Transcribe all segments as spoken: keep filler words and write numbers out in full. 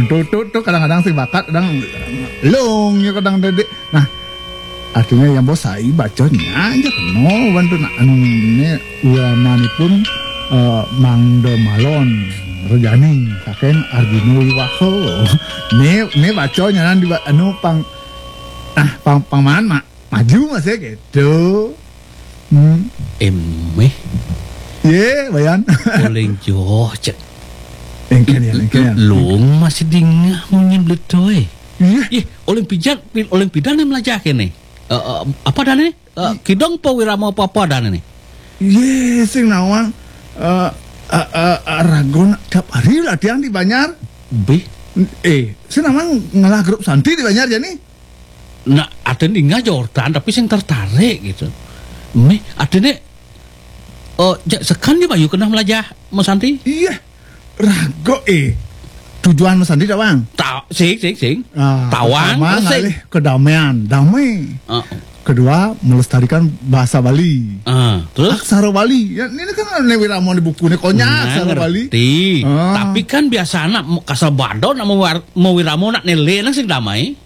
Tuh, tuh, tuh kadang-kadang sing bakat, kadang lung ya kadang dedek. Nah, artinya yang bos sai bacanya aja kena bantu nak anu ini ulamanipun eh, Mangda Malon Rejaning saking Arjuna Wiwaha. Ne ne bacanya nan di anu pang ah pang pang man mak maju masih gitu. Hmm. Emeh. Ye, Bayan. Uling joh cek. Engken ya, engken ya. Lung masih dingah munyi bletoi. Iya. Ih, uling pijat, uling pidan yang melajah kene. Eh, eh, apa dan ini? Eh, kidong apa wirama apa-apa dan ini? Ye, sing nawang eh eh eh, ragon tiap hari latihan di Banjar. Bih. Eh, sing nawang ngelah grup santi di Banjar jani. Nah, aten dingah jortan tapi sing tertarik gitu. Meh, atene eh ja- sekan dia bayu kena melajah Mas Santi. Iya. Rago eh. Tujuan Mas Santi tawang. Ta sing sing sing. Ah, Tawang, pertama terus sing. Ngalih kedamaian, damai. Ah, Kedua, melestarikan bahasa Bali. Ah, terus? Aksara Bali. Ya, ini kan ne wirama di buku ne konya Nah, aksara Bali. Ngerti. Ah. Tapi kan biasa anak kasabado nak mewar- mewiramo nak nele nang sing damai.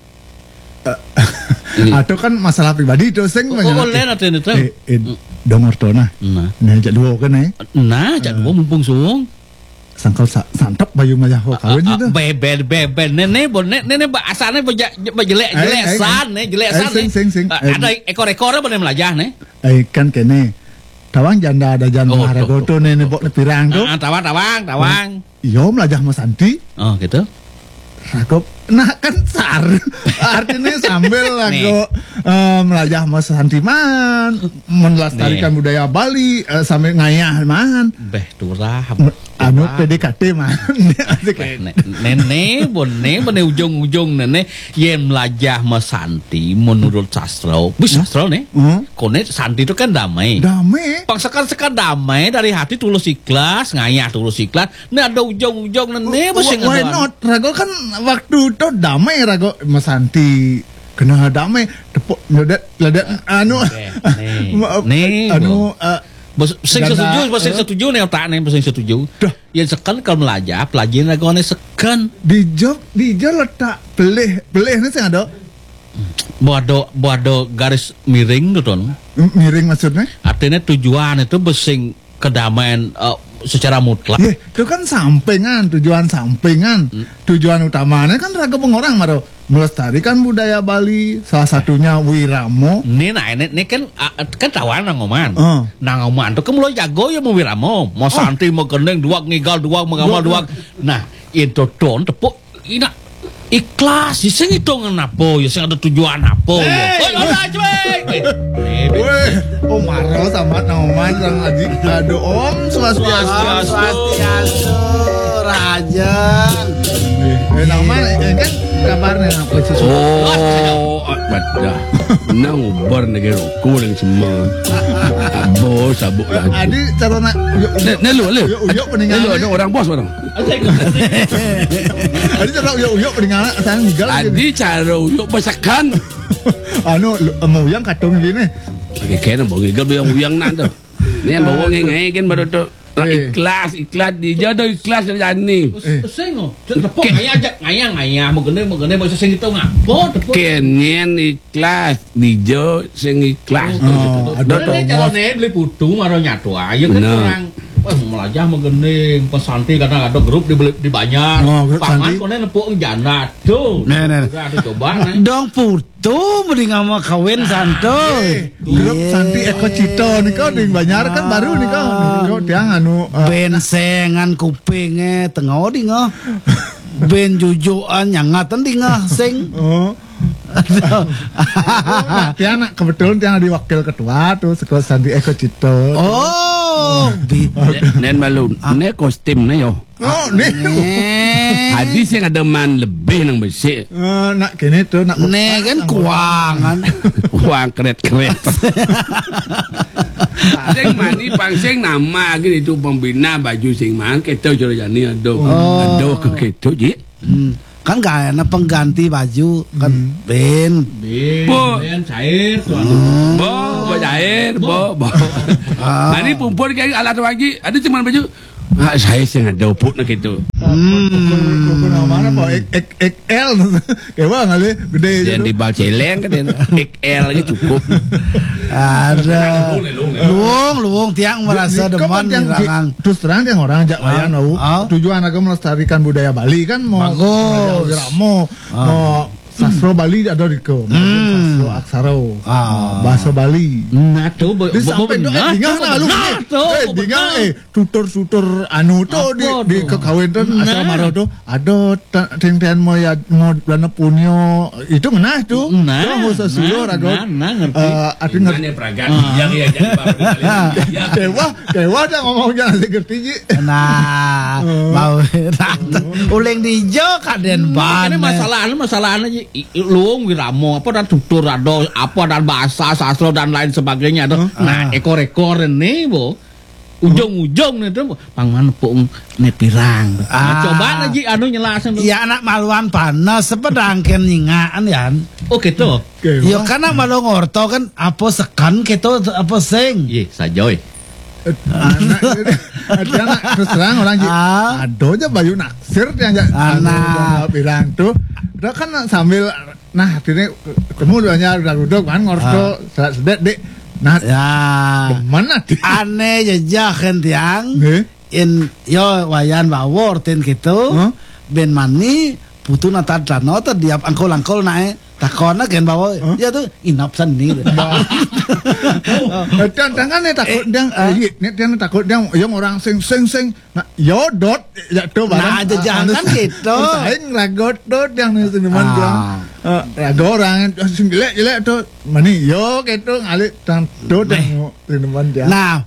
Eh, atau kan masalah pribadi itu sing Oh, oh, lain atau ini tahu? Eh, eh, dong orto nah. Nah. Nah, jak dua kan eh. Nah, jak dua mumpung suwung. Sangkal sa santap bayu mayah ho kawin itu. Bebel bebel nene bo ne- nene ba asane ba ja- ba jelek Ai, jelek ai, san ai. Ne jelek Ai, san sing, ne. Sing, sing. Ah, Ai, ada ekor-ekor apa ne melajah ne? Ai kan kene. Tawang janda ada janda Oh, tuh, harago tuh. Tuh nene bok ne pirang tuh. Ah, tawang tawang tawang. Iyo melajah Mas Santi. Oh, gitu. Rago nah kan sar. Artinya sambil Nih. Rago eh, melajah Mas Santi man, melestarikan Nih. Budaya Bali eh, sambil ngayah man. Beh, turah. Me- Anu Turah. P D K T man. Asik. Beh, ne- nene bone bone ujung-ujung nene yen melajah Mas Santi menurut sastra. Bus sastra nih. Hmm? Kone Santi itu kan damai. Damai. Pang sekan-sekan damai dari hati tulus ikhlas, ngayah tulus ikhlas. Nah, ada ujung-ujung nene Wh- bos yang why ada. Not? Rago kan waktu itu damai rago Mas Santi kena damai tepuk nyodet ledet anu Eh, nih. Ma- Nih, anu bos. Eh, Bos sing Ganda, setuju, bos sing eh? Setuju nih otak nih, bos sing setuju. Dah. Yang sekan kalau melajah, pelajaran rago nih sekan. Di job, di job letak pelih, pelih nih sing ada. Buat ada, buat ada garis miring tuh ton. M- Miring maksudnya? Artinya tujuan itu bos sing kedamaian eh, secara mutlak. Ye, itu kan sampingan, tujuan sampingan. Hmm. Tujuan utamanya kan raga pengorang maro melestarikan budaya Bali, salah satunya wiramo. Ini nah ini, ini kan ah, kan tawaran nang oman. Heeh. Nang oman tuh kan mulai jago ya mau wiramo, mau Santi, mau gendeng, duak ngigal, duak mengamal, duak. Nah, itu ton tepuk ina ikhlas sih sing hitungan apa ya sing ada tujuan apa ya. Hei. Oh, ora cuy. Eh, eh, Weh, oh maro sama nang oman sang aji. Aduh, Om Swastiastu. Swastiastu, Raja. Eh, nang oman eh, kan kabarnya apa sesuatu. Oh, badah. Nang ubar negeri rokok yang semua. Bos sabuk lagi. Adi cara nak yuk Nek, nek lu, lu. Yuk yuk peninggalan. Lu ada orang bos orang. Adi cara yuk yuk peninggalan sang gigal. Adi cara yuk pasakan. Anu lu- mau yang katung gini. Oke, kena mau gigal yang uyang nak tu. Ni yang bawa ngai kan baru tu. Eh. Ikhlas, ikhlas di jodoh ikhlas dari jani. Eh. Sing oh. Tepuk ngayah ajak ngayah ngayah mau gende mau gende mau sing itu ngapa tepuk. Kenien ikhlas di jo sing ikhlas. Oh, ada Dodol. Cara ni beli putu maro nyatu aja kan Nah. Orang. Wah, melajah mau gende, pas santi kadang ada grup di beli di banjar. Oh, grup Pangan santi. Kone nepuk janda. Tuh. Nah, nah. Udah ada coba nih. Dong putu mending sama kawin santo. Eh, grup Iya. Santi Eko Cito nih kau di Banjar kan baru nih kau. Nih, kau tiang anu eh, Bensengan kupingnya tengah di ngah. Ben jujuan nyangatan di ngah sing. Oh. Aduh. Nah, tiang nak kebetulan tiang di wakil ketua tuh sekolah Santi Eko Cito. Oh, di Nen malu, ne kostum ne yo. Oh, ni. Nih. Hadis yang ada man lebih nang besik. Eh, nak kini tu nak Nih kan kuangan. Uang keret-keret. Sing mani pang sing nama gini tu pembina baju sing man kita jero jani aduh. Oh. Aduh ke kita ji. Hmm. Kan gak enak pengganti baju kan Hmm. Ben. Bin, Bo. Bin, cair tuh. Bo, bo cair, bo, bo. Ah. Mani pumpur kayak alat lagi. Ada cuman baju Ah, saya sing ada upuk nak itu. Hmm. Mana apa? Ek, ek, X L. Kayak mana kali? Gede aja. Yang di bal celeng kan, X L aja cukup. Ada. Luung, luung, tiang merasa demen. Terus terang, tiang orang ajak wayan, ah, tujuan aku melestarikan budaya Bali kan, mau bagus. Mau sastra Bali ada di ke, sastra aksara, bahasa Bali. Nah, tuh, sampai benar, dingah, nah, lu, nah, tuh, eh, dingah, eh, tutur-tutur anu tuh di, di kekawin tuh, asal marah tuh, ada teng-teng mau ya, mau dana punyo, itu ngenah tuh. Nah, tuh, mau sesuluh, nah, ragot. Nah, nah, ngerti. Eh, arti ngerti. Gimana, Pragat? Yang ya, jadi baru kali ini. Ya. Kewah, kewah dah ngomong jangan ngerti, Ji. Nah, mau, nah, tuh. Uling dijo kaden. Hmm, ban, ini masalah, ini masalah aja. Luung wiramo, apa dan tutur ada, apa dan bahasa sastra dan lain sebagainya ada. Nah, ekor-ekor ini, bo. Ujung-ujung nih tuh, pang mana pung ne pirang. Nah, coba lagi anu nyelasin tuh. Ya, anak maluan panas, sepedangken nyingaan, Yan. Oh, gitu. Yo, karena malu ngorto kan, apa sekan gitu, apa sing. Iya, sajoy. Anak, anak, terus terang orang, Ji. Ada aja Bayu naksir dia aja. Anak. Anu, pirang tuh. Udah kan sambil, nah, ini ketemu duanya udah duduk kan, ngorto sedet, Dik. Nah, ya. Demen ati. Aneh aja kan tiang. Nggih. In, yo, wayan bawor tin gitu. Ben mani putu nata dano tadi ap angkol-angkol nae. Takon agen bawa, ya tuh inap seni. Tantangan nih takut dia, iya, nih dia takut dia, yang orang sing sing sing, nah, yodot, ya tuh barang. Nah, aja jangan gitu. Saing ragot tuh yang nih seniman dia. Ragot orang sing jelek jelek tuh, mani yo gitu ngalih tang tuh yang seniman dia. Nah,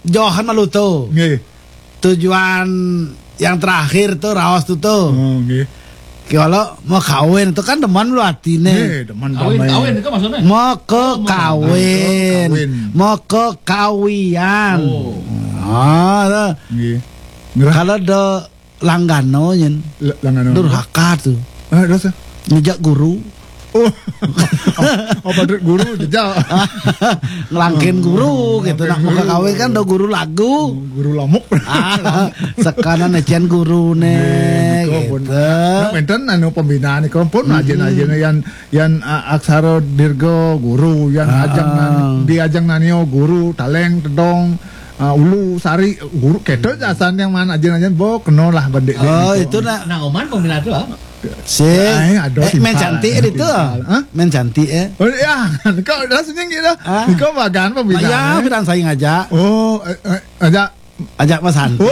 Johan malu tuh. Nggih. Tujuan yang terakhir tuh raos tuh tuh. Oh, nggih. Kalau mau kawin itu kan demen lu atine. Nggih, demen kawin, kawin itu maksudnya? Mau ke kawin, mau ke kawian. Oh. Ah, tuh. Nggih. Kalau do langgano nyen. Langgano. Durhaka tuh. Ah, dosa. Ngejak guru. Oh. Apa tuh guru jejak? Ngelangkin guru gitu. Nah, mau ke kawin kan do guru lagu. Guru lamuk. Ah, sekanan ecian guru nih gitu. Nah, enten anu pembinaan nih, pun ajin-ajin yang yang aksara dirga guru, yang ajang nan, di ajang nanio guru, taleng, tedong, ulu, sari, guru, keto jasan yang mana ajin-ajin bo keno lah bendik. Oh, itu nak. Nah, oman pembina tuh ah. Si, eh, main cantik itu. Hah? Main cantik eh. Oh ya, kau rasanya gitu. Kau bagan pembina. Ya, bilang saya ngajak. Oh, ajak. Ajak Mas Santi. Oh.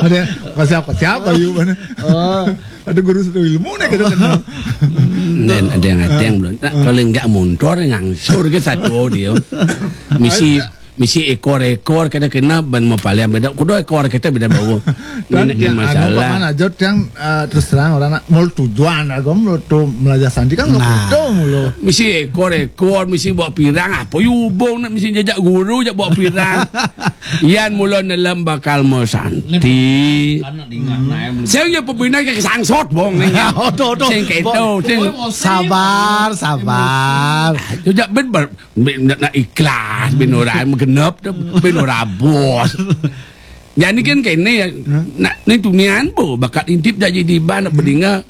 Ada Mas siapa siapa yuk mana? Oh. Ada guru satu ilmu nih kita kenal. Dan ada yang ada yang belum. Nah, kalau nggak mundur ngangsur ke satu dia. Misi misi ekor-ekor kena kena ban mau paling beda. Kudu ekor kita beda bau. Dan ini yang anu masalah. Paman aja yang eh, terus terang orang nak mau tujuan aku mau tuh belajar Santi kan nggak tahu mulu. Misi ekor-ekor, misi bawa pirang, apa yubung nak misi jajak guru jak bawa pirang. Yan mula nelem bakal mau Santi. Saya punya pembina ke sangsot bong nih. Odo odo. Sing keto, sing sabar, sabar. Jajak ben ber nak ikhlas ben ora genep ben ora bos. Jadi kan kene ya. Nak ni tunian bo bakat intip jadi di ban nak bedinga.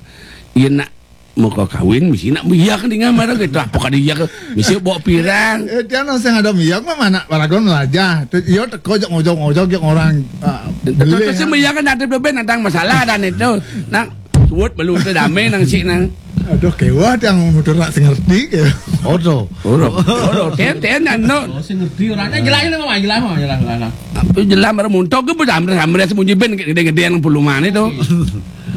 Iya nak mau kau kawin mesti nak iya kan dengan marah gitu apa kan iya kan mesti bawa pirang. Eh, dia nang sing ada miyak mah mana paragon aja. Iya teko jak ngojok-ngojok jak orang. Terus sih iya kan ada beben ada masalah dan itu. Nak buat belum tu damai nang si nang. Aduh kewah yang muter nak sing ngerti ke. Odo. Odo. Odo. Ten ten dan no. Oh, sing ngerti orangnya jelas ini mah jelas mah jelas jelas. Apa jelas marah muntok ke pun ambil ambil sembunyi ben gede-gede yang puluhan itu.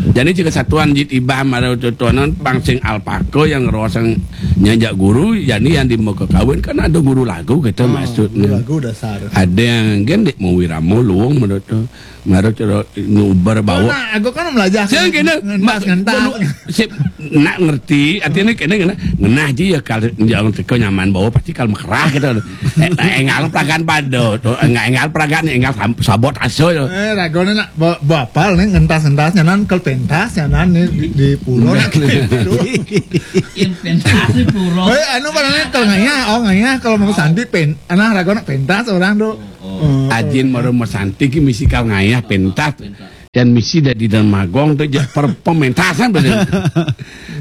Jadi jika satuan jit ibah marah tuanan pang sing alpaka yang rosang nyajak guru, jadi yang di muka kawin kan ada guru lagu kita maksudnya. Lagu dasar. Ada yang gendek mau wiramo luwung menurut tu. Marah cara nubar bawa. Nah, aku kan belajar. Saya kena ngentas ngentas. Nak ngerti artinya kena kena ngenah aja ya kalau jangan teko nyaman bawa pasti kalau mekerah gitu. Engal peragan pada, engal peragan engal sabot aso. Eh, ragone nak bapal nih ngentas-ngentas nyanan kel pentas nyanan nih di, di pulau. Yang pentas di pulau. Eh, anu pada nih kalau ngayah, oh ngayah kalau mau sandi pen, anak ragone pentas orang tuh. Ajin mara masanti ki misi kal ngayah pentas. Dan misi dadi dermagong tu ja per pementasan bener.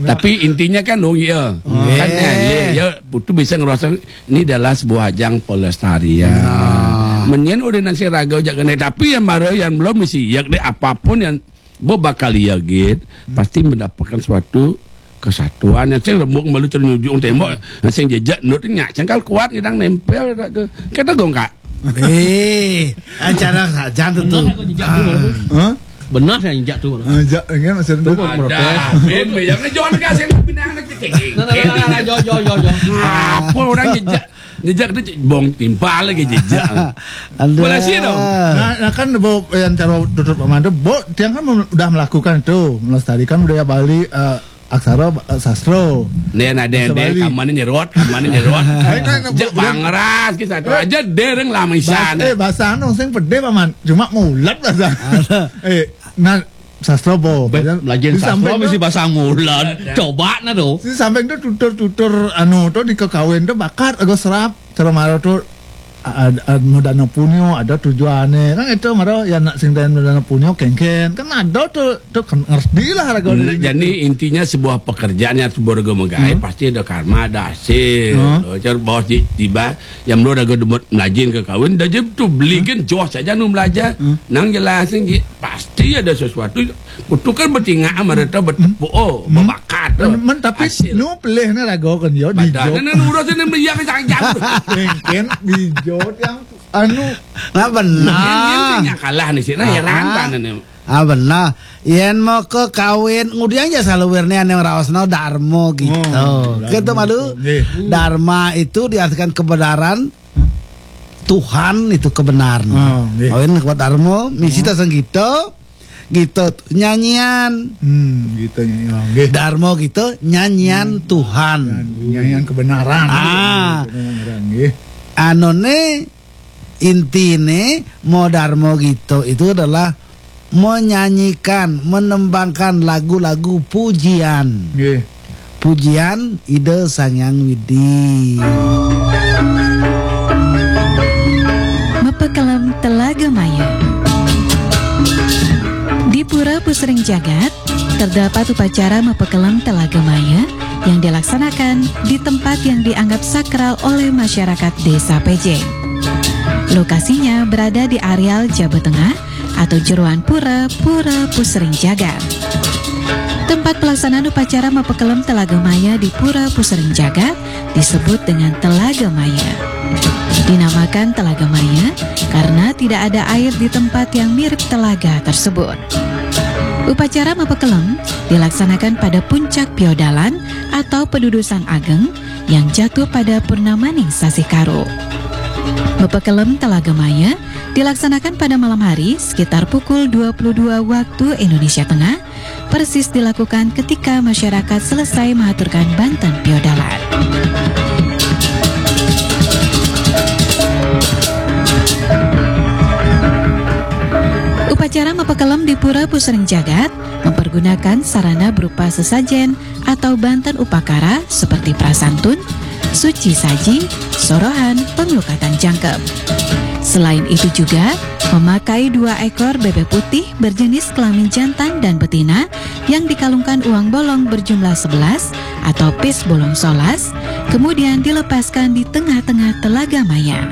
Tapi intinya kan dong ya. Kan ya, ya, ya, putu bisa ngerasa ini adalah sebuah ajang pelestarian. Menyen udah nasi raga jak kena, tapi yang baru yang belum misi ya deh, apapun yang bo bakal ya git pasti mendapatkan suatu kesatuan yang sing rembuk malu ternyujung tembok yang sing jejak nut nya cengkal kuat ngidang nempel tak ke kita gongkak. Eh, acara saja tu. Benar saya injak tu. Injak kan maksud tu. Ada. Ben yang ngejon kasih pinang nak cekik. Nah, nah, nah, nah, jo, jo, jo, jo. Apa orang jejak? Jejak tu bong timpal lagi jejak. Aduh. Boleh sih dong. Nah, nah kan bo yang cara tutup Pak Mando, bo tiang kan mem- udah melakukan itu, melestarikan budaya Bali, eh, aksara, eh, sastra. Nih ada Bahasa deh Bali. Kamane nyerot, kamane nyerot. Hai, kan, Jek bukan- bangras ki satu aja dereng lama Bas, isan. Eh, bahasa anu sing pede Paman, cuma mulat bahasa. Eh, nah sastra bo. Belajar Di sastra samping mesti tu- bahasa mulan. Coba na tu. Di samping tu tutur-tutur anu tu di kekawin tu bakat aku serap cara maro tu ada modana punyo ada tujuane kan itu maro ya nak sing dan modana punyo kengken kan ada tu tu kan ngerti lah lagu Nah, jadi intinya sebuah pekerjaan yang sebuah rego megai pasti ada karma, ada hasil. Loh, jar bos di tiba yang belum ada gemut melajin ke kawin dah je tu beli kan joh saja nu belajar. Nang jelasin je pasti ada sesuatu. Kutu kan bertingak mereka bertepuk oh berbakat tu. Men, men tapi Hasil. Nu pelih ni lagu kan yo di Badan jo. Nan urus ni melihat ke sanjang. Kengken di jo yang anu Nah benar. Yang kalah ni sih, nah heran kan ni. Ah benar. Yen mau ke kawin, ngudiang ya saluwirne ane raosno Darmo gitu. Oh, Gitu malu. Nggih. Dharma itu diartikan kebenaran. Tuhan itu kebenaran. Oh, nggih. Kawin kuat Darmo, misi tasang gitu. Gitu nyanyian. Hmm, gitu ya. Nggih. Darmo gitu nyanyian Tuhan. Nyanyian kebenaran. Ah. Kebenaran, nggih. Anone intine mau Darmo gitu itu adalah menyanyikan, menembangkan lagu-lagu pujian. Nggih. Pujian Ida Sang Hyang Widi. Mepekelem Telaga Maya. Di Pura Pusering Jagat, terdapat upacara mepekelem Telaga Maya yang dilaksanakan di tempat yang dianggap sakral oleh masyarakat Desa Pejeng. Lokasinya berada di areal Jaba Tengah atau Jeruan Pura, Pura Pusering Jagat. Tempat pelaksanaan upacara mepekelem Telaga Maya di Pura Pusering Jagat disebut dengan Telaga Maya. Dinamakan Telaga Maya karena tidak ada air di tempat yang mirip telaga tersebut. Upacara mepekelem dilaksanakan pada puncak piodalan atau pedudusan ageng yang jatuh pada purnamaning sasih Karo. Mepekelem Telaga Maya dilaksanakan pada malam hari sekitar pukul dua puluh dua waktu Indonesia Tengah, persis dilakukan ketika masyarakat selesai mengaturkan banten piodalan. Upacara mepekelem di Pura Pusering Jagat mempergunakan sarana berupa sesajen atau banten upakara seperti prasantun, suci saji, sorohan, penglukatan jangkep. Selain itu juga memakai dua ekor bebek putih berjenis kelamin jantan dan betina yang dikalungkan uang bolong berjumlah sebelas atau pis bolong solas, kemudian dilepaskan di tengah-tengah Telaga Maya.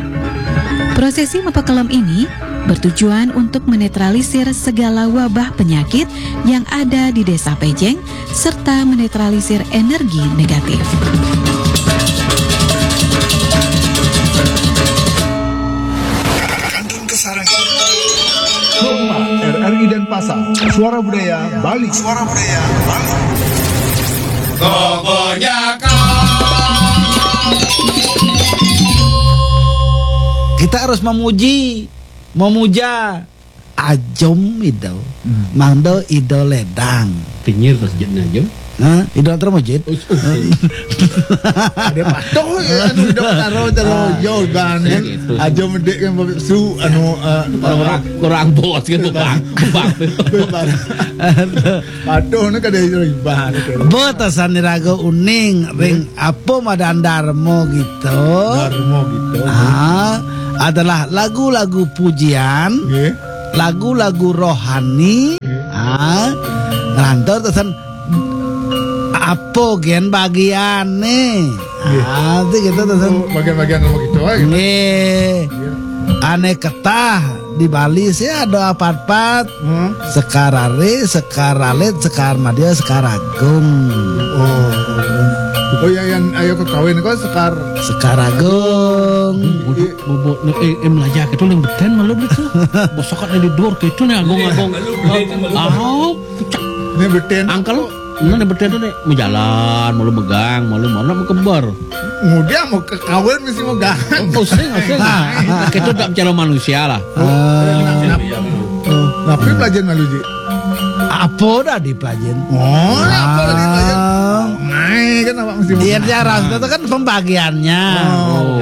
Prosesi mepekelem ini bertujuan untuk menetralisir segala wabah penyakit yang ada di Desa Pejeng serta menetralisir energi negatif. Rumah R R I Denpasar, Suara Budaya Bali. Suara Budaya Bali. Kita harus memuji, memuja Ajom Ido, Mangdo Ido Ledang. Pinggir masjidnya Ajom. Hah? Ido Termujid. Ada patuh ya anu hidup taro taro yo dan aja medik kan su anu eh, Kurang kurang bos kan bebang bebang. bebas. Patuh ni kada ibarat. Betasan diraga uning ring apa madan Darmo gitu. Darmo gitu. Ah, adalah lagu-lagu pujian, Nggih. lagu-lagu rohani. Ah, ngantor tesen apa gen bagiane. Ah, itu gitu tesen. Oh, bagian-bagian sama gitu aja. Nggih. Ane ketah di Bali sih ada apat-apat. Hmm. Sekar Ari, Sekar Alit, Sekar Madya, Sekar Agung. Oh. Oh ya, yang ayo ke kawin kok Sekar. Sekar Agung. Bobo, bobo, eh, eh, melajah gitu yang beten malu gitu. Bosokat di dor gitu nih agung-agung. Ah, pucak. Ini beten. Angkel, ini beten tuh nih, mau jalan, malu megang, malu malu mau kebar. Muda mau ke kawin mesti mau gahan. Pusing, pusing. Kita tak bicara manusia lah. Tapi pelajaran malu, Ji. Apa dah dipelajarin? Oh, apa tadi pelajaran? Ah. Ngai kan apa mesti mau Iya, gahan? dia rasa itu kan pembagiannya. Oh.